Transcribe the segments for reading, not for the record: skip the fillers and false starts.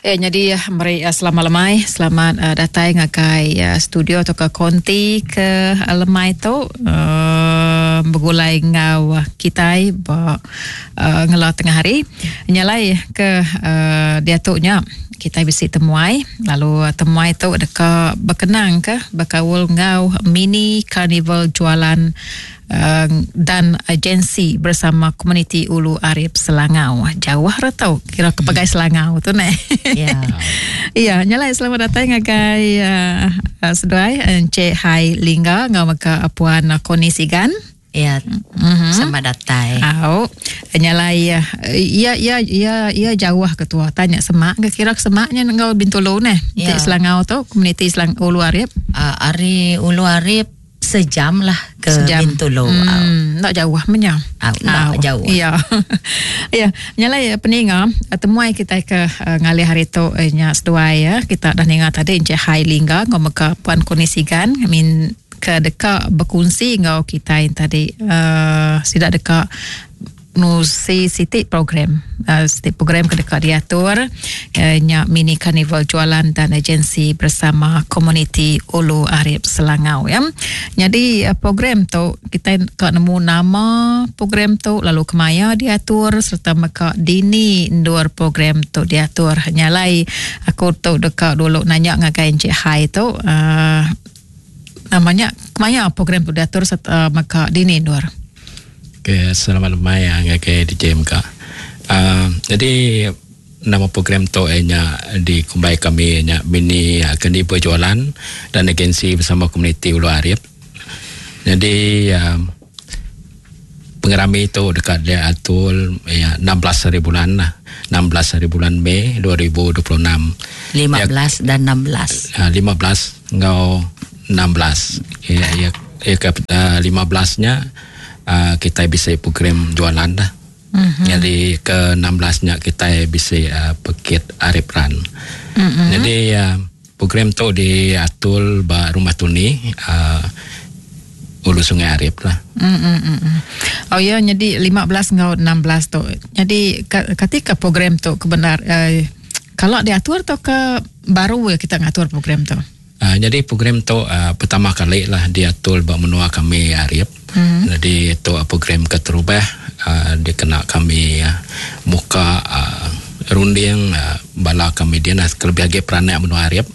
Eh nyadi meri selamat lemai, selamat uh, datai ngagai uh, studio atau ke konti ke uh, lemai tu uh, begulai enggau kitai ba uh, ngela tengah hari. Nyalai ke uh, diatu nya kitai bisi temuai lalu temuai tu deka bekenang ke bekaul enggau mini carnival jualan dan agensi bersama komuniti Ulu Arip Selangau. Jauh ra tau kira ke pegai Selangau tu neh. Ya. Ya, nyalai selamat datai ngagai uh, seduai Encik Hai Lingga enggau mega Puan Koni Sigan. Ya. Selamat datai. Au. Nyalai ya ya ya ya jauh ke tua tanya semak ke kira ke semaknya enggau Bintulu neh. Ya. Selangau tu komuniti Selang Ulu Arip. Ari Ulu Arip Sejam lah ke Sejam. Bintulu. Enda jauh menya. Au, enda jauh. Ya. Ya, nyalai peninga temuai kitai ke ngalih hari tu nya seduai ya. Kita dah ninga tadi Encik Hai Lingga enggau mega Puan Koni Sigan min ke deka bekunsi enggau kitai tadi uh, sida deka Nusi siti program siti program ke deka diatur nya mini karnival jualan dan agensi bersama komuniti Ulu Arip Selangau ya. Nyadi program tu kitai ka nemu nama program tu lalu kemaya diatur sereta mega dini endur program tu diatur. Nya alai aku tu deka dulu nanya ngagai Encik Hai tu uhh nama nya kemaya program tu diatur sereta mega dini endur. Okay, selamat lemai ngagai DJ mega. Uh, jadi nama program tu nya dikumbai kami nya mini kendi berjualan dan agensi bersama komuniti Ulu Arip. Jadi uh, pengerami tu dekat diatur ya 16 hari bulan lah. 16 hari bulan Mei 2026. 15 ya, dan 16. Uh, 15 enggau 16. Ya, ya, ya ke uh, 15 nya uh, kitai bisi program jualan dah. Mm-hmm. Jadi ke 16 nya kitai bisi uh, pekit Arif Run. Mm-hmm. Jadi uh, program tu diatur ba Rumah Tuni uh, Ulu Sungai Arif lah. Mm-hmm. Oh ya, jadi 15 enggau 16 tu. Jadi katika program tu kebenar uh, kalau diatur atau ke baru ya kita ngatur program tu? Nyadi program tu pertama kali lah diatur ba menua kami Arip. Nyadi tu program keterubah dikena kami muka runding bala kami din kelebih agi peranak menua Arip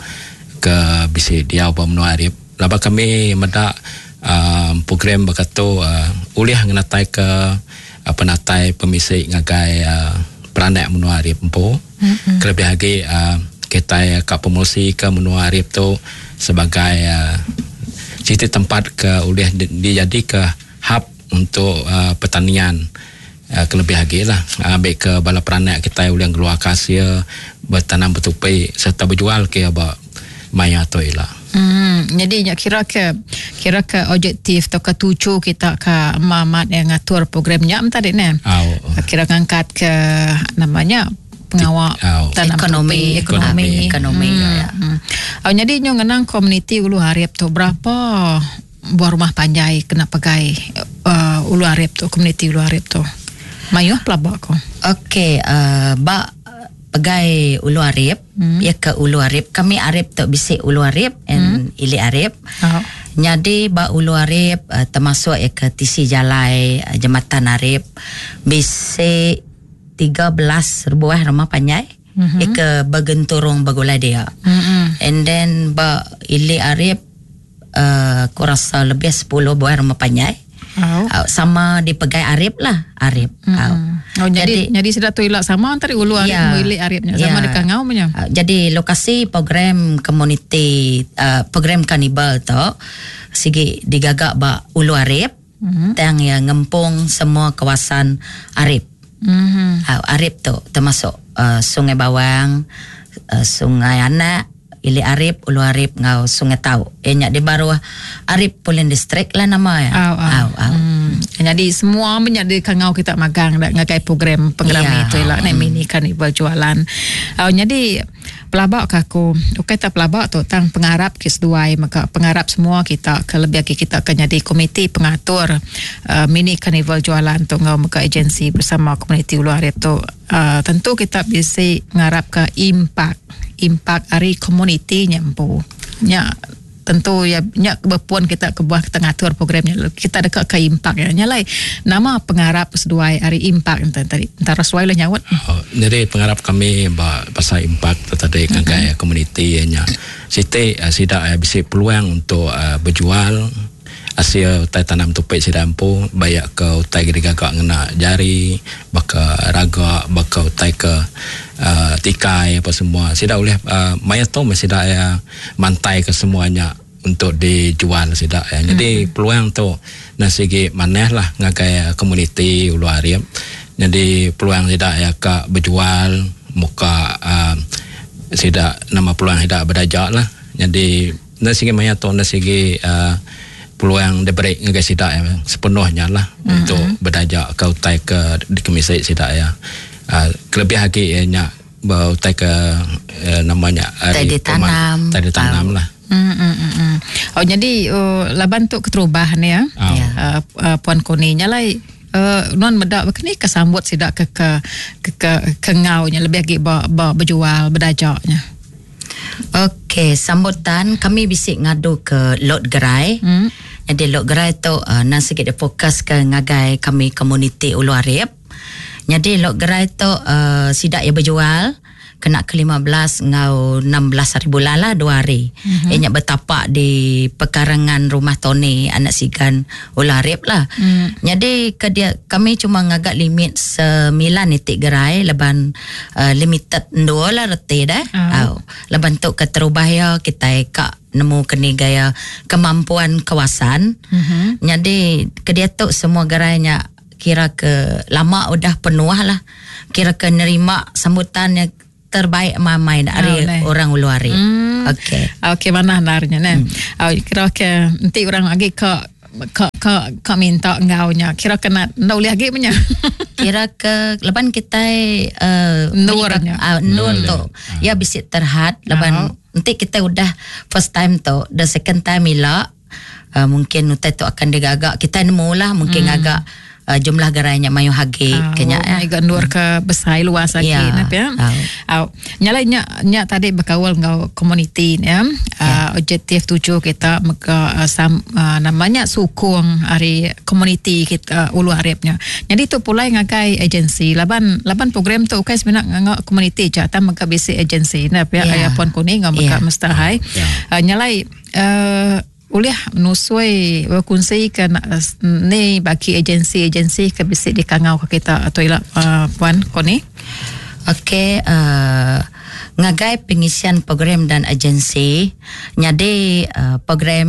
ke bisi diau ba menua Arip. Laban kami meda program baka tu ulih ngenataika penatai pemisi ngagai peranak menua Arip empu. Kelebih agi kitai ka promosi ke menua Arip tu sebagai siti tempat ke ulih dijadika hub untuk pertanian kelebih agi lah ambi ke bala peranak kitai ulih ngeluarka asil betanam betupi sereta bejual ke iya ba maya tu ila. Nyadi nya kira ke kira ke objektif tauka tuju kita ka amat ngatur program nya meh tadi neh. Kira ngangkat ke nama nya pengawa tanam ekonomi ekonomi ekonomi hmm. ya. Hmm. Oh, jadi nyu ngenang komuniti Ulu Arip tu berapa buah rumah panjai kena pegai uh, Ulu Arip tu komuniti Ulu Arip tu mayuh pelaba ko. Okey uh, ba pegai Ulu Arip hmm. ya ke Ulu Arip kami Arip tu bisi Ulu Arip and hmm. Ili Arip. Oh. Nyadi ba Ulu Arip uh, termasuk ya ke tisi jalai uh, jembatan Arip bisi 13 buah rumah panjai mm-hmm. ke begenturung begulai dia. Mm-hmm. And then ba Ili Arip uh, aku rasa lebih 10 buah rumah panjai. Oh. Sama dipegai Arip lah, Arip. Mm. Oh. Oh, jadi jadi, jadi sida tu ila sama antara Ulu Arip yeah. Ili Arip nya sama yeah. dekat ngau nya. Jadi lokasi program komuniti uh, program karnival tu sigi digaga ba Ulu Arip. Tang iya ngempung semua kawasan Arip. Arip tu termasuk Sungai Bawang, Sungai Anak, Ili Arip, Ulu Arip enggau Sungai Tau. Iya nya di baruh Arip Pulin District lah nama iya. Au, au. Au, au. Nyadi semua meh nya dikangau kita magang da ngagai program pengerami Ya. tu ila neh mini karnival jualan. Au nyadi pelaba ka aku ukai tak pelaba tu tang pengarap ke seduai mega pengarap semua kita ke lebih agi kita ke nyadi komiti pengatur uh, mini karnival jualan tu enggau mega agensi bersama komuniti Ulu Arip tu uh, tentu kita bisi ngarap ke impak impak ari komuniti nya empu. Nya tentu ya nya bepun kita kebuah kita ngatur program nya kita deka ke impak ya. Nya alai nama pengarap seduai ari impak enta tadi entara seduai lah nyaut. Oh, jadi pengarap kami ba pasal impak tu tadi ngagai komuniti iya nya siti sida bisi peluang untuk bejual asil utai tanam tupi sida empu bayak ke utai ke digaga ngena jari baka raga baka utai ke tikai apa semua sida ulih maya tu meh sida iya mantai ke semua nya untuk dijual sida iya. Jadi peluang tu enda sigi manah lah ngagai komuniti Ulu Arip. Jadi peluang sida iya ka bejual muka sida nama peluang sida bedaja lah. Jadi enda sigi maya tu enda sigi peluang diberi ngagai sida iya sepenuhnya lah untuk bedaja ke utai ke dikemisi sida iya. Kelebih agi iya nya ba utai ke nama nya Utai ari ditanam. utai ditanam lah. Oh jadi laban tu keterubah ni ya. Puan Koni nya alai nuan meda baka ni ke sambut sida ke ke ke ke ngau nya lebih agi ba ba bejual bedaja nya. Okey, sambutan kami bisi ngadu ke lot gerai. Jadi lot gerai tu nang sigi difokus ke ngagai kami komuniti Ulu Arip. Jadi lot gerai tu sida iya bejual kena ke 15 enggau 16 hari bulan lah, 2 hari. Iya nya betapak di pekarangan rumah Tony anak Sigan Ulu Arip lah. Jadi ke dia kami cuma ngaga limit 9 itik gerai leban limited dua lah reti dah. Au. Leban tu keterubah ya kita ka nemu keni gaya kemampuan kawasan. Jadi ke dia tu semua gerainya kira ke lama udah penuh lah. Kira ke nerima sambutan yang terbaik mamai dari orang Ulu Arip. Okey. Okey, mana narnya ne. Kira ke enti orang lagi ke ke ke ke minta enggaunya kira ke nak ndak boleh lagi punya. Kira ke leban kita Nurnya. Nur tu. Ya bisi terhad leban enti kita udah first time tu, the second time ila mungkin utai tu akan digagak kita nemu lah mungkin agak jumlah gerainya mayu hagi kenya ya. Iga nur ke besai luas lagi nap ya. Au. Nyala nya nya tadi berkaul enggau komuniti ya. Objektif tuju kita mega namanya sukung ari komuniti kita Ulu Aripnya. Jadi tu pulai ngagai agensi laban laban program tu ukai sebenarnya ngangau komuniti je tam mega bisi agensi nap ya. Aya Puan Kuning ngau mega Mr. Hai. Nyalai ulih nusui berkongsi ke ni bagi agensi-agensi ke bisi dikangau ke kita atau ila Puan Koni. Okey, ngagai pengisian program dan agensi nyadi program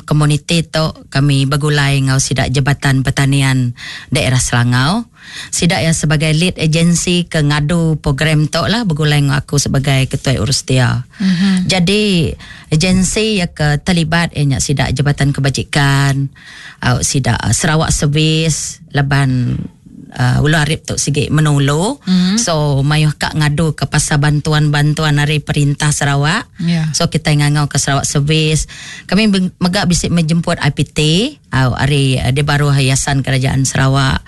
komuniti tu kami bergulai ngau sidak Jabatan Pertanian Daerah Selangau. Sidak yang sebagai lead agensi ke ngadu program tu lah bergulai ngau aku sebagai ketua urus dia. Jadi agensi yang ke terlibat ianya sidak Jabatan Kebajikan, sidak Sarawak Service, laban Ulu Arip tu sigi menulu. So mayuh kak ngadu ke pasal bantuan-bantuan dari perintah Sarawak. So kita ngangau ke Sarawak Service. Kami megak bisik menjemput IPT hari di baruh Yayasan Kerajaan Sarawak.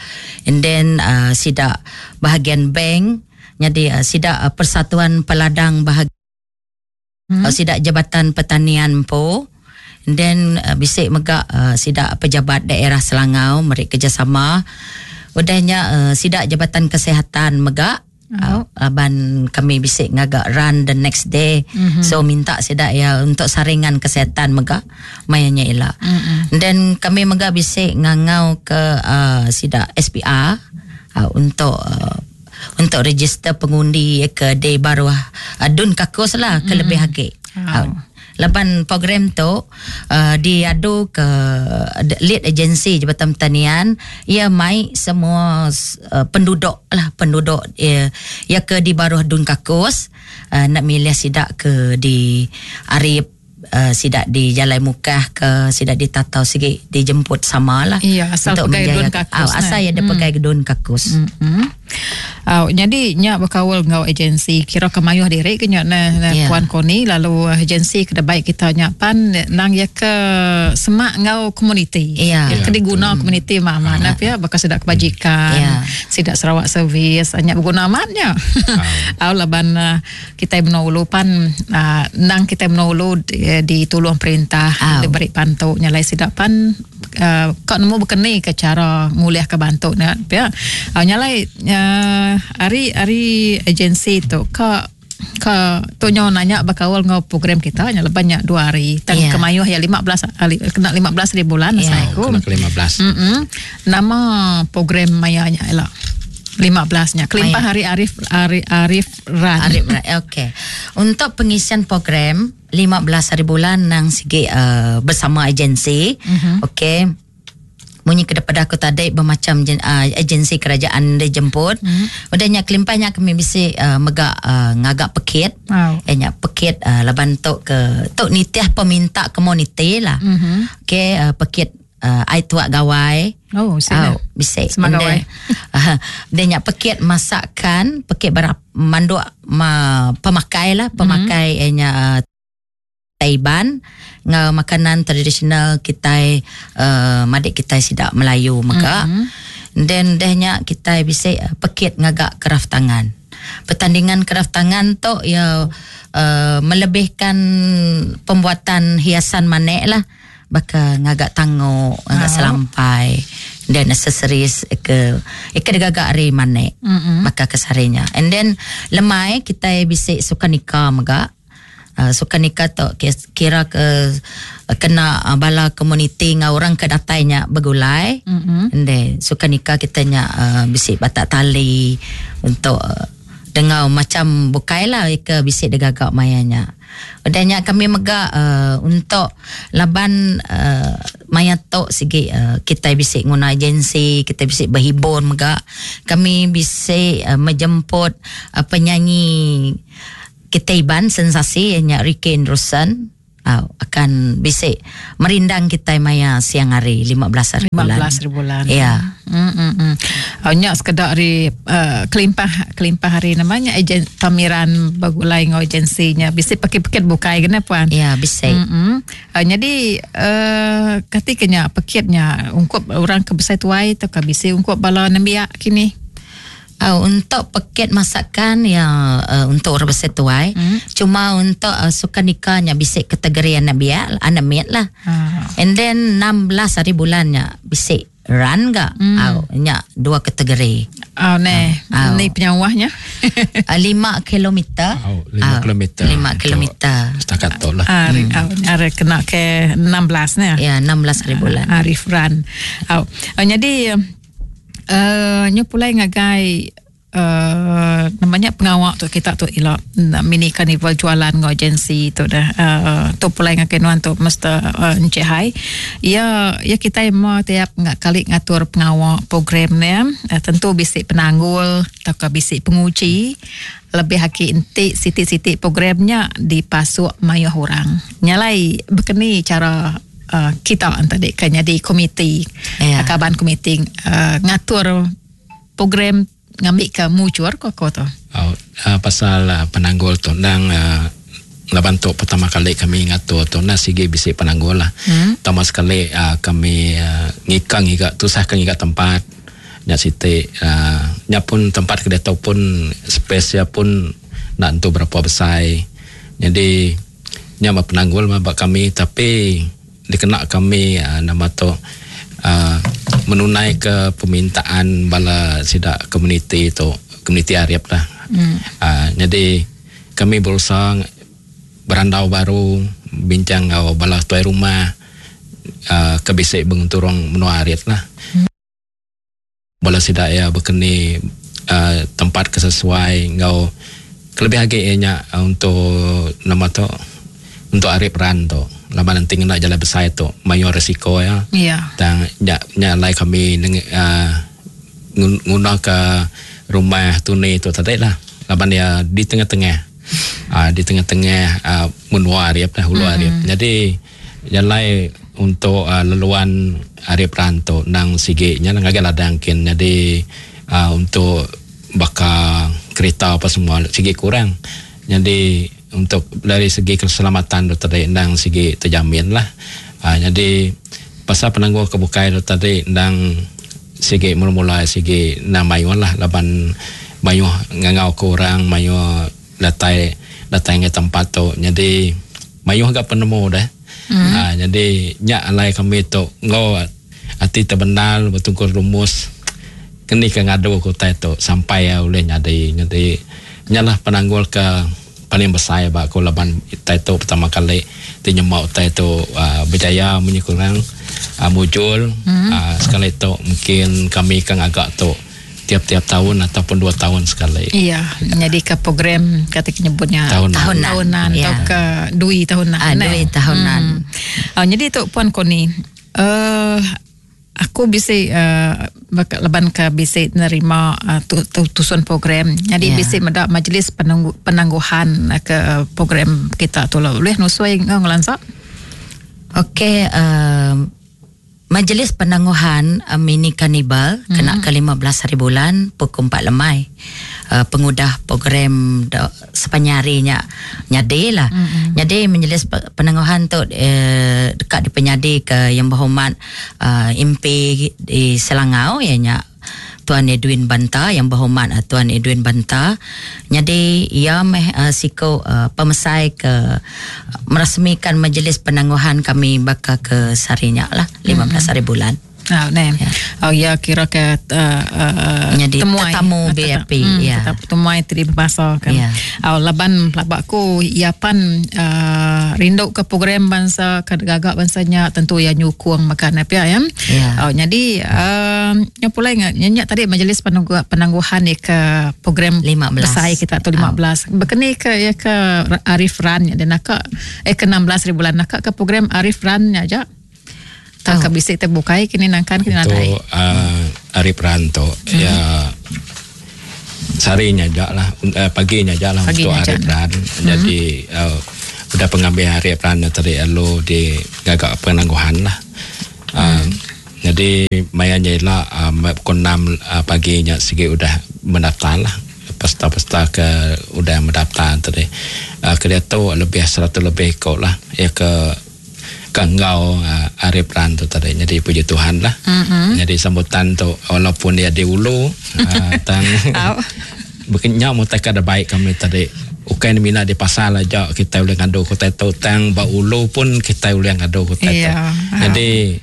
And then sidak bahagian bank, jadi sidak Persatuan Peladang bahagian sidak Jabatan Pertanian po. And then bisik megak sidak pejabat daerah Selangau meri kerjasama. Udahnya sidak Jabatan Kesihatan megak aban kami bisik ngagak run the next day. So minta sidak ya untuk saringan kesihatan megak mayanya ila. Dan kami megak bisik ngangau ke sidak SPR untuk untuk register pengundi ke day baru Dun Kakus lah ke lebih hagi. Laban program tu diadu ke lead agency Jabatan Pertanian ia mai semua penduduk lah penduduk ia ke di baruh Dun Kakus enda milih sida ke di Arip sida di Jalai Mukah ke sida di Tatau sigi dijemput sama lah. Iya asal pegai Dun Kakus. Asal iya pegai Dun Kakus. Au nyadi nya bekaul enggau agensi kira ke mayuh diri ke nya neh yeah. Puan Koni lalu agensi ke debai kita nya pan nang iya ke semak enggau komuniti. Yeah. Iya ke diguna komuniti mah amat nah pia baka sida kebajikan, yeah. sida Sarawak Service nya beguna amat nya. Au laban kitai menua ulu pan nang kitai menua ulu ditulung perintah diberi bantu nya alai sida pan ka nemu bekeni ke chara ngulih ke bantu ne pia. Nya alai ari ari agensi tu ka ka tu nyo nanya bekaul enggau program kita nya leban nya dua hari tang yeah. kemayuh ya 15 hari kena 15 hari bulan yeah. asai ku. Kena 15. Nama program maya nya ila. 15 nya kelimpah hari Arif Arif Arif Ran. Arif Ran. Okey. Untuk pengisian program 15 hari bulan nang sigi uh, bersama agensi. Mm-hmm. Okey. Munyi ke depada aku tadi bermacam uh, agensi kerajaan dijemput. Mm-hmm. Udah nya kelimpah nya kami bisi uh, mega uh, ngagak pekit. Wow. Eh nya pekit uh, laban tu ke tu nitih peminta komuniti lah. Mm-hmm. Okey uh, pekit uh, ai tuak gawai. Oh, sini. Oh, bisi. Semak gawai. Uh, dia nya pekit masakan, pekit berap manduk ma, pemakai lah, pemakai mm-hmm. nya uh, Taiban ngau makanan tradisional kitai uh, madik kitai sidak Melayu mega. Mm-hmm. Then deh nya kitai bisi pekit ngagak kraf tangan. Pertandingan kraf tangan tu ya uh, melebihkan pembuatan hiasan manik lah. Baka ngaga tangok, ngaga selampai dan aksesoris ke ika digaga ari manik. Mm-hmm. Baka ke sarinya. And then lemai kitai bisi sukanika mega. Sukanika tu kira ke kena bala komuniti enggau orang ke datai nya begulai. Mm-hmm. And then sukanika kita nya bisi batak tali untuk dengau macam bukai lah ke bisi digaga maya nya. Udah nya kami mega uh, untuk laban uh, maya tok sigi uh, kita bisi nguna agensi, kita bisi berhibur mega. Kami bisi uh, menjemput uh, penyanyi kita Iban sensasi nya Ricky Anderson akan bisi merindang kita maya siang hari 15 hari bulan. 15 hari bulan. Ya. Nya sekedar hari uh, kelimpah kelimpah hari namanya agen pameran bagulai ngau agensinya bisi pekit-pekit bukai kena puan. Ya, bisi. Jadi uh, ketikanya pekitnya ungkup orang ke besai tuai atau ke bisi ungkup bala nembiak kini. Untuk pekit masakan ya untuk orang besar tuai. Cuma untuk sukanikanya bisik kategori anak biak, anak miat lah. And then 16 hari bulannya bisik run ga. Nya dua kategori. Oh ne, ni penyawahnya. 5 kilometer. 5 kilometer. 5 kilometer. Setakat tu lah. Ari kena ke 16 ne. Ya, 16 hari bulan. Arif run. Jadi nyu pulai ngagai namanya pengawak tu kita tu ila mini carnival jualan ngau agensi tu dah tu pulai ngagai nuan tu Mr. Encik Hai. Ya ya kita mau tiap ngak kali ngatur pengawak program ni tentu bisik penanggul atau ke bisik penguji lebih haki entik sitik-sitik programnya dipasuk mayuh orang. Nyalai berkeni cara kita tadi kan jadi komiti yeah. Kaban komiti ngatur program ngambil ke mucur ko ko tu. Pasal penanggul tu nang laban tu pertama kali kami ngatur tu na sigi bisi penanggul lah. Pertama sekali kami ngikang ngiga tusah ke ngiga tempat nya siti nya pun tempat ke dia pun space ya pun nak tentu berapa besar. Jadi nya penanggul mah bak kami tapi dikena kami nama tu menunai ke permintaan bala sidak komuniti tu komuniti Arab lah. Jadi kami berusaha berandau baru bincang ngau bala tuai rumah ke bisik benturung menua Arab lah. Bala sidak ya berkeni tempat kesesuai ngau kelebih lagi nya untuk nama tu untuk Arif Run tu. Laban enti ngena jalai besai tu mayuh risiko iya. Tang nya nya alai kami uhh nguna ka rumah tuni tu tadi lah laban iya di tengah-tengah uhh di tengah-tengah uhh menua Arif lah ulu Arif. Nyadi jalai untuk uhh laluan Arif Run tu endang sigi nya ngagai ladang kin nyadi uhh untuk baka kerita apa semua sigi kurang. Nyadi untuk dari segi keselamatan tu tadi endang sigi terjamin lah. Uhh nyadi pasal penanggul ke bukai tu tadi endang sigi mula-mula sigi endang mayuh lah laban mayuh ngangau ke orang mayuh datai datai ngagai tempat tu nyadi mayuh ga penemu deh. Uhh nyadi nya alai kami tu enggau ati tebendar betungkur rumus keni ke ngadu ke utai tu sampai iya ulih nyadi. Nyadi nya lah penanggul ke paling besai ba aku laban utai tu pertama kali ti nyema utai tu uhh berjaya munyi ku orang uhh mujur uhh sekali tu mungkin kami ke ngaga tu tiap-tiap taun ataupun dua taun sekali. Iya, nyadika program kata ke nyebut nya tahunan, tahunan ya. Tauka dui tahunan. Ah, dui tahunan. Nyadi tu Puan Koni, aku bisi uh, laban ke bisi nerima uh, tu, tu, tusun program. Jadi yeah. bisi meda majlis penanggu, penangguhan ke program kita tu lah. Boleh nusui ngau ngelansa? Okey, Majlis Penangguhan Mini Karnival kena ke 15 hari bulan pukul 4 lemai. Pengudah program sepanjang hari nya nyadi lah. Nyadi majlis penangguhan tu deka dipenyadi ke Yang Berhormat MP di Selangau iya nya Tuan Edwin Banta, Yang Berhormat Tuan Edwin Banta. Nyadi iya meh siku pemesai ke merasmikan majlis penangguhan kami baka ke sehari nya lah, 15 hari bulan. Oh, neh. Ya. Oh, ya kira ke nyadi temuai tetamu VIP ya. Temuai ti dibasa kan. Ya. Oh, laban pelaba aku iya pan rindu ke program bansa ke gaga bansa nya tentu iya nyukung mega ne pia ya. Ya. Oh, nyadi nya pulai nya nya tadi majlis penangguh, penangguhan ni ke program 15 besai kita tu 15. Oh. Bekeni ke ya ke Arif Run nya dia naka eh ke 16 hari bulan naka ke program Arif Run nya aja. Tak ke bisi terbukai kini nangkan kini nadai. Tu Arif Run tu ya sehari nya aja lah pagi nya aja lah untuk Arif Run. Jadi udah pengambil Arif Run nya tadi lalu di gaga penangguhan lah. Jadi maya nya ila pukul 6 pagi nya sigi udah mendaftar lah. Peserta-peserta ke udah mendaftar tadi. Ke diatu lebih 100 lebih iko lah ya ke ke enggau Arif Run tu tadi. Jadi puji Tuhan lah. Jadi sambutan tu walaupun dia di ulu tang bekenya mutai ke ada baik kami tadi. Ukai ni mina di pasar aja kita boleh ngadu kota tu, tang ba ulu pun kita boleh ngadu kota tu. Jadi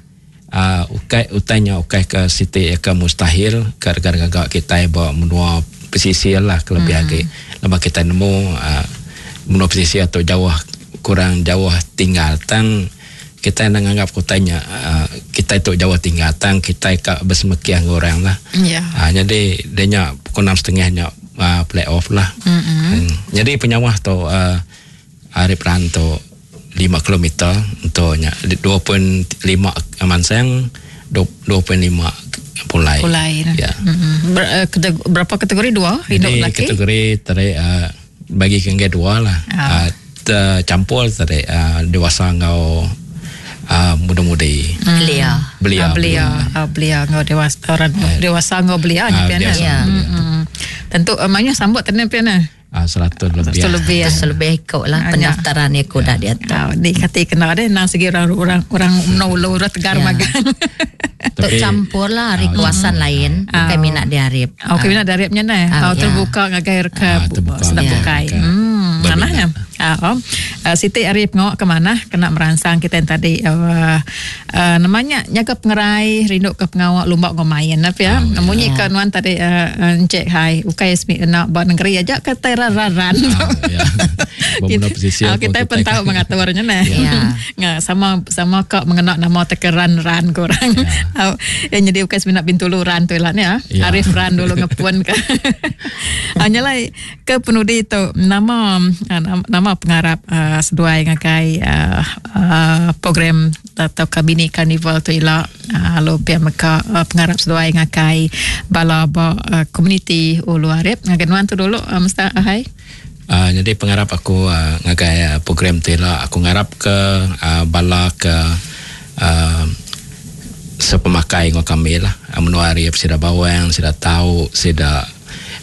ukai utainya ukai ke siti ke mustahil ke gaga kita ba menua pesisir lah kelebih lagi. Lepas kita nemu menua pesisir tu jauh kurang jauh tinggal tang kita nak anggap kotanya kita itu jauh tinggal tang kita ka bersemekiah dengan orang lah. Jadi dia nya pukul 6.30 nya play off lah. Jadi penyawah tu Arif Run tu 5 kilometer untuk nya 2.5 Mansang, 2.5 Pulai. Pulai. Ya. Berapa kategori? Dua? Jadi Hidup lelaki? Kategori tadi bagi ke dua lah. Tercampur tadi dewasa ngau muda-mudi. Belia. Belia. Belia. Belia ngau dewasa, orang dewasa ngau belia ni pian. Dewasa Ya. ngau belia. Tentu maknanya sambut tadi pian. 100 lebih. 100 lebih, ya. 100 lebih ikut lah pendaftaran ikut dah dia tu. Di kati kena deh nang segi orang orang no lo orang tegar magang. Tok campur lah hari kawasan lain, bukan minat di Arif. Okey, minat di Arifnya neh. Terbuka ngagai reka sedap bukai. Manahnya. Siti Arif ngok ke mana kena merangsang kita yang tadi namanya nyaga pengerai rindu ke pengawak lumba ngau main apa ya. Munyi ke nuan tadi Encik Hai ukai smi nak buat negeri aja ke teraran. Kita pun tahu mengaturnya neh. Nga sama sama kak mengenak nama tekeran ran korang. Yang jadi ukai smi nak Bintulu ran tu lah ni ya. Arif ran dulu ngepun ke. Hanyalah ke penudi tu nama nama pengarap uh, seduai ngagai uh, uh, program atau ke mini carnival tu ila uh, lalu pia mega uh, pengarap seduai ngagai bala ba uh, komuniti Ulu Arip ngagai nuan tu dulu uh, Mr. Ahai. Uh, jadi pengarap aku uh, ngagai uh, program tu ila aku ngarap ke uh, bala ke uh, sepemakai ngau kami lah menua Arip sida bawang sida tau sida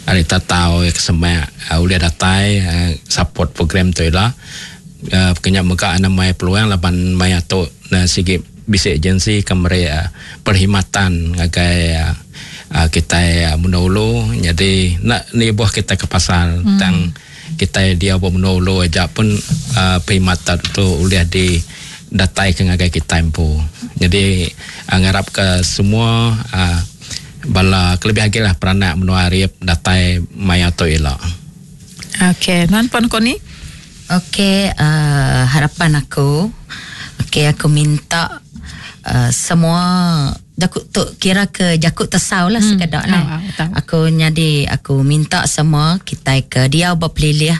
ari tatau ke semak uh, ulih datai uh, support program tu ila uh, kenya mega anda mai peluang laban maya tu uh, sigi bisi agensi ke meri uh, perkhidmatan ngagai uh, uh, kita uh, menua ulu jadi nak ni buah kita ke pasar hmm. tang kita dia buat menua ulu aja pun uh, perkhidmatan tu ulih di datai ke ngagai kita empu. Jadi uh, ngarap ke semua uh, bala kelebih lagi lah peranak menua Arip datai maya tu ila. Okey, nuan pun kau ni? Okey, uh, harapan aku, okey aku minta uh, semua jakut tu kira ke jakut tesau lah hmm. sekedar lah. Oh, aku nyadi aku minta semua kita ke dia berpelilih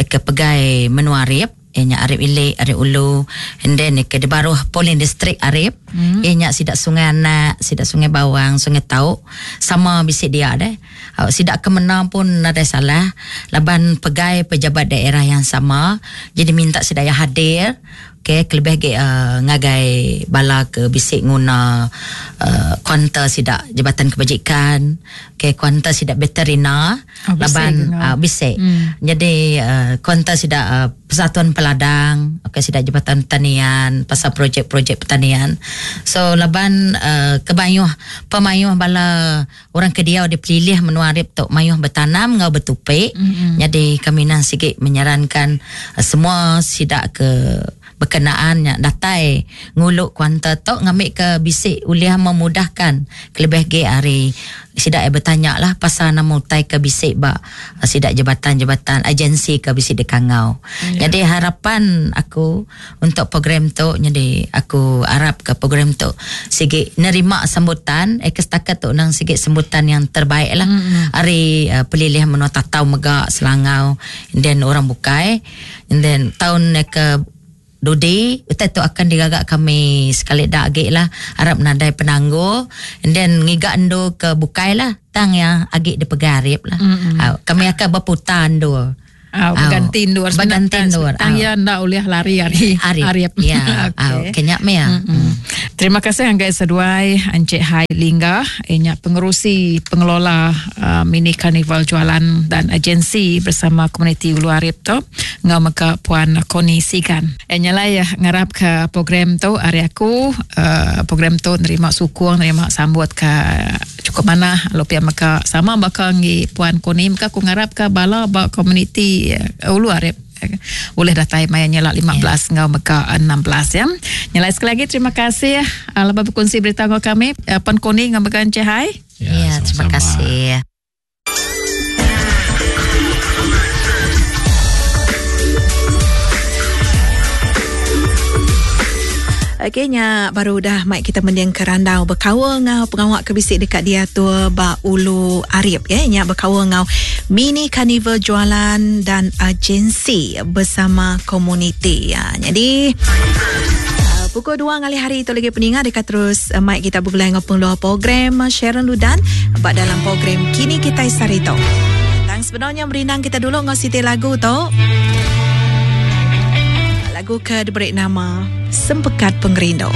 ke pegai menua Arip. Ianya Arip Ilik, Arip Ulu, and then ke di baruh Polin District Arip. Hmm. Ianya sidak Sungai Anak, sidak Sungai Bawang, Sungai Tau, sama bisik dia deh. Sidak kemenang pun ada salah. Laban pegai pejabat daerah yang sama. Jadi minta sidak yang hadir. Okey, kelebih lagi uh, ngagai bala ke bisik nguna uh, kuanta sidak Jabatan Kebajikan, okey kuanta sidak veterina, oh, laban uh, bisik. Hmm. Jadi uh, kuanta sidak uh, Persatuan Peladang, okey sidak Jabatan Pertanian, pasal projek-projek pertanian. So laban uh, kebayuh pemayuh bala orang ke dia di pelilih menua Arip tok mayuh bertanam ngau bertupik. Hmm. Jadi kami nan sikit menyarankan uh, semua sidak ke berkenaan yang datai nguluk kuanta tok ngambil ke bisik uliah memudahkan kelebih ge hari sidak bertanya lah pasal nama utai ke bisik ba sidak jabatan-jabatan agensi ke bisik dekangau. Ya. Jadi harapan aku untuk program tu jadi aku harap ke program tu sigi nerima sambutan eh setakat tu nang sigi sambutan yang terbaik lah. Mm-hmm. Hari uh, pelilih menua Tatau Megak Selangau and then orang bukai and then tahun ke Dudi, utai tu akan digagak kami sekali dak agik lah. Harap nadai penangguh. And then ngigak endo ke bukai lah. Tang yang agik di pegarip lah. Mm-hmm. Kami akan berputar endo. Oh, berganti endur. Berganti endur. Tang ya ndak boleh lari hari Arip. Ya. Okey. Kenyak me ya. Mm-hmm. Terima kasih anggai seduai Encik Hai Lingga, inya pengerusi pengelola uh, mini karnival jualan dan agensi bersama komuniti Ulu Arip tu ngau mega Puan Koni Sigan. Inya lah ya ngarap ke program tu hari aku uh, program tu nerima sukung nerima sambut ke cukup mana lalu pia mega sama bakal ngi Puan Koni mega aku ngarap ke bala ba komuniti Ulu Arip boleh datai maya nyelak 15 yeah. Ngau mega 16 ya. Nyelak sekali lagi terima kasih lepas berkongsi berita ngau kami Puan Koni ngau mega Encik Hai. Ya, ya terima kasih. Okey nya baru dah mai kita mending ke randau berkawa ngau pengawak ke bisik dekat dia tu ba Ulu Arip ya nya berkawa ngau mini karnival jualan dan agensi bersama komuniti ya. Jadi pukul 2 ngalih hari itu lagi peningat dekat terus uh, mic kita bergulai ngau pengeluar program Sharon Ludan bak dalam program Kini Kita Sarito. Tang sebenarnya merindang kita dulu ngau siti lagu tu. Lagu ke diberi nama Sempekat Pengerindu.